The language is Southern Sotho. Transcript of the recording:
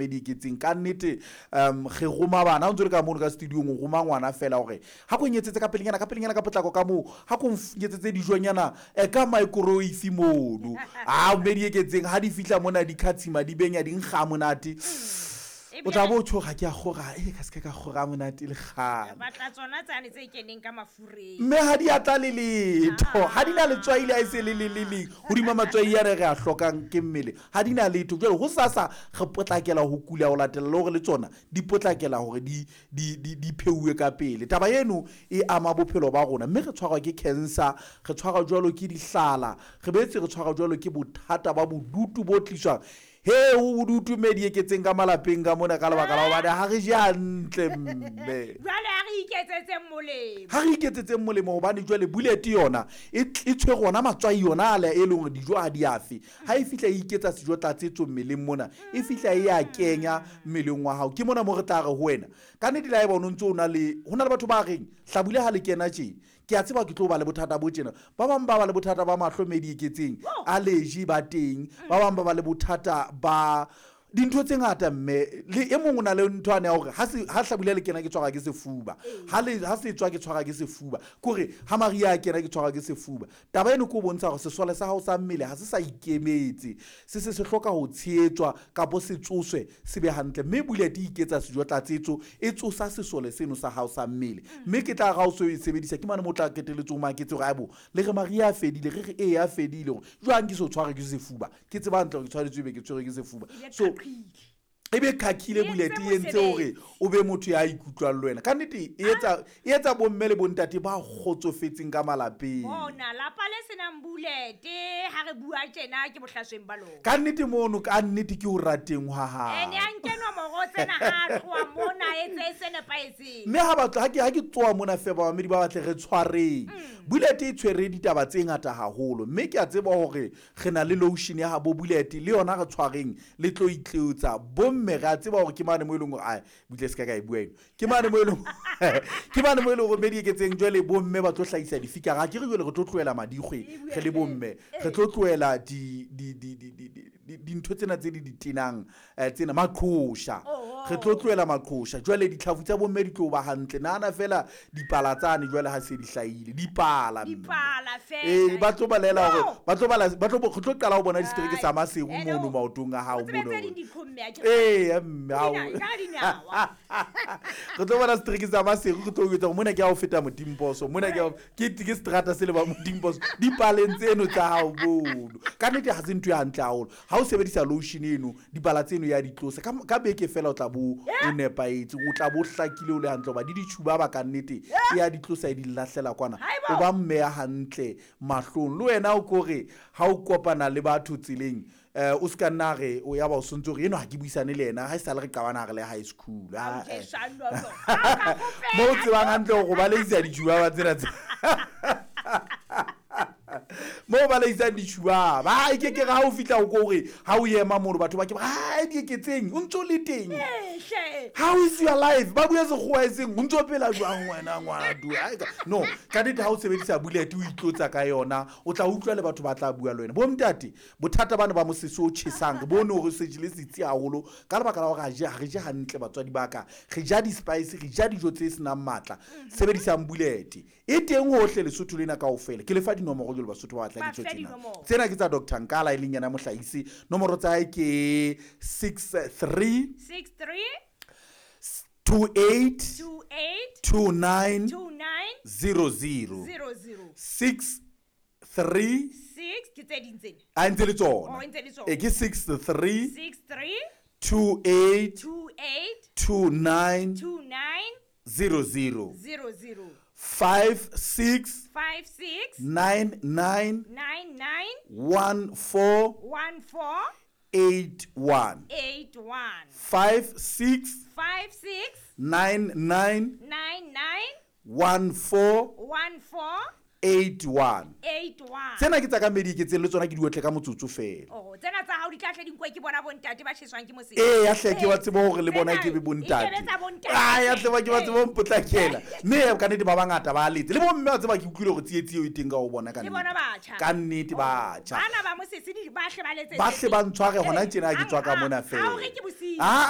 Di eketseng ka nnete. Re roma bana ha o ntse le ka mono ka studiong, o roma ngwana fela hore ha ko nyetsetse ka pelenyana, ka pelenyana, ka potlako ka moo, ha ko nyetsetse dijonyana ka microwave mono. A mme di eketseng ha di fihla mona di khatshima, di benya, di nkga monate. O tla bo tjho ga ke a kgora, e ka se ka kgora monate le kgale. Batla tsona tsane tse keneng ka mafureng. Mme ha di a tla le letho, ha di na letswai le ha e se le le le leng hodima matswai a re re a hlokang ke mmele, ha di na letho. Jwale ho sasa re potlakela ho kula ho latela le hore le tsona di potlakela hore di pheuwe ka pele. Taba eno e ama bophelo ba rona, mme re tshwarwa ke cancer, re tshwarwa jwalo ke dihlala, re boetse re tshwarwa jwalo ke bothata ba bodutu bo tliswang. He, ho bodutu mme di eketseng ka malapeng ka mona ka lebaka la hobane ha re je hantle mme. Jwale ha re iketsetseng molemo. Ha re iketsetseng molemo, hobane jwale bullet yona e tshwere ona matswai yona ale e leng hore dijo ha di afe. Ha e fihla e iketsa sejo tlatsetso mmeleng mona, e fihla e ya kenya mmeleng wa hao. Ke mona mo re tla re ho wena. Ka nnete le haeba o no ntso o na le, ho na le batho ba reng hlabula ha le kena tje, ke a tseba ke tlo ba le bothata bo tjena. Ba bang ba ba le bothata ba mahlo mme di eketseng, allergy ba teng. Ba bang ba ba le bothata ba dintho tse ngata mme le e mong o na le ntho ane ya hore ha se ha hlabula le kena ke tshwarwa ke sefuba, ha se tswa ke tshwarwa ke sefuba, kore ha mariha a kena ke tshwarwa ke sefuba. Taba eno ke o bontsha hore sesole sa hao sa mmele ha se sa ikemetse, se se se hloka ho tshehetswa kapo se tsoswe se be hantle. Mme bullet e iketsa sejo tlatsetso, e tsosa sesole seno sa hao sa mmele. Mme ke tla ra o so e sebedisa, ke mane mo tla qetelletse o maketse hore aibo le re mariha a fedile, re re ee a fedile, hore jwang ke so tshwarwe ke sefuba, ke tseba hantle hore ke tshwanetse ebe ke tshwerwe ke sefuba. So e be khakhile bullet e entse hore o be motho ya ikutlwang le wena. Ka nnete e etsa, e etsa bomme le bontate ba kgotsofetseng ka malapeng. Bona lapa le senang bullet ha re bua tjena ke bohlasweng ba lona. Ka nnete mono, ka nnete ke o rateng hwa hao. Ene a nke nomoro tsena ha a tloha mona, etse se nepahetseng. Mme ha batla, ha ke tsoa mona fe bamamedi ba batle re tshwareng. Bullet e tshwere ditaba tse ngata haholo, mme ke a tseba hore re na le lotion ya habo bullet le yona re tshwareng le tlo itlotsa. Bomme re a tseba hore ke mane mo e leng hore, ai, butle se ka ka e bua eno. Ke mane mo e leng, ke mane mo e leng hore mme di eketseng jwale bomme ba tlo hlahisa difikara. Ha ke re jwale re tlo tlohela madikgwe re le bomme, re tlo tlohela dintho tsena tse di di tenang, tsena maqhosha. Re tlo tlohela maqhosha. Jwale ditlhafu tsa bomme di tlo ba hantle. Nahana fela dipala tsane jwale ha se di hlahile, dipala mme. Dipala fela. Ba tlo balela hore, ba tlo bala, ba tlo, re tlo qala ho bona distereke sa Maseru Hello. mono maotong a hao O tsebe mono. tse ding dikhomme, a ke Mme, ha o- Dina, ka dinawa. Re tlo bona setereke sa Maseru, re tlo etsa hore mona ke ha o feta Motimposo, mona ke ha o-, ke, ke seterata se le ba Motimposo, dipaleng tseno tsa hao mono. Ka nnete ha se ntho e hantle haholo. Ha o sebedisa lotion eno, dipala tseno ya di tlosa. Ka beke fela o tla bo o nepahetse, o tla bo hlakile o le hantle, hoba di ditjhuba ba ka nnete, e ya di tlosa e di lahlela kwana. Haibo. O ba mme ya hantle mahlong. Le wena o kore ha o kopana le batho tseleng, o ska nna re o ya ba o sontse hore eno ha ke buisane le yena, ha e sale re qabana re le high school. Ha o Ah, ke eh. shano, no. Ha o ka kgopela. Mo o tsebang hantle hore o baleisa ditjhuba ba tsena tse. Mo ba leisang ditjhuba, ba ke ke ha o fihla o ko hore ha o ema mono batho ba ke ba, ha di eketseng, o ntso le teng. Hle. How is your life? Ba bua sekgowa e seng, o ntso phela jwang wena ngwana tu? Ai ka, no, ka nnete ha o sebedisa bullet o itlotsa ka yona, o tla utlwa le batho ba tla bua le wena. Bo ntate, bothata bana ba mosese o tjhesang, re bone hore se jele setsi haholo ka lebaka la hore ha re je hantle batswadi ba ka. Re ja di-spice, re ja dijo tse senang matla. Sebedisang bullet. E teng hohle Lesotho lena kaofela. Ke le fa dinomoro jwale Basotho ba batla Ba ditso fe tsena. dinomoro. Tsena ke tsa Doctor Nkala e leng yena mohlahisi. Nomoro tsa hae ke 63 63 28 28 29 29 00. 00. 6 3 6 ke tse ding tsena. A ntse le tsona. Oh, e ntse le tsona. E ke 6 3 6 3 2 8 2 8 2 9 2 9 0 0. 0 0. 5 6 5 6 9 9 9 9 1 4 1 4 8 1. 8 1. 5 6 5 6 9 9 9 9 1 4 1 4 81. 81. Tsena ke tsa ka mediketseng le tsona ke di otle ka motsotso fela. Oh, tsena tsa hao di tla hle di nkuwe ke bona bontate ba tjheswang ke mosese. Ee, ya hle ke ba tsebe hore le bona Tsena ke be bontate. e sebetsa bontate. Ah, ya hle ba ke ba tsebe ho mpotlakela. Mme ka nnete ba bangata ba letse. Le bomme wa tseba ke utlwile hore tsietsi eo e teng ka ho bona ka Le nnete. bona batjha. Ka nnete batjha. Bana ba mosese di ba hle ba letsetse. Ba hle ba ntshware hona tjena ha ke tswa ka mona Ha o fela. re ke bosiu. Ah,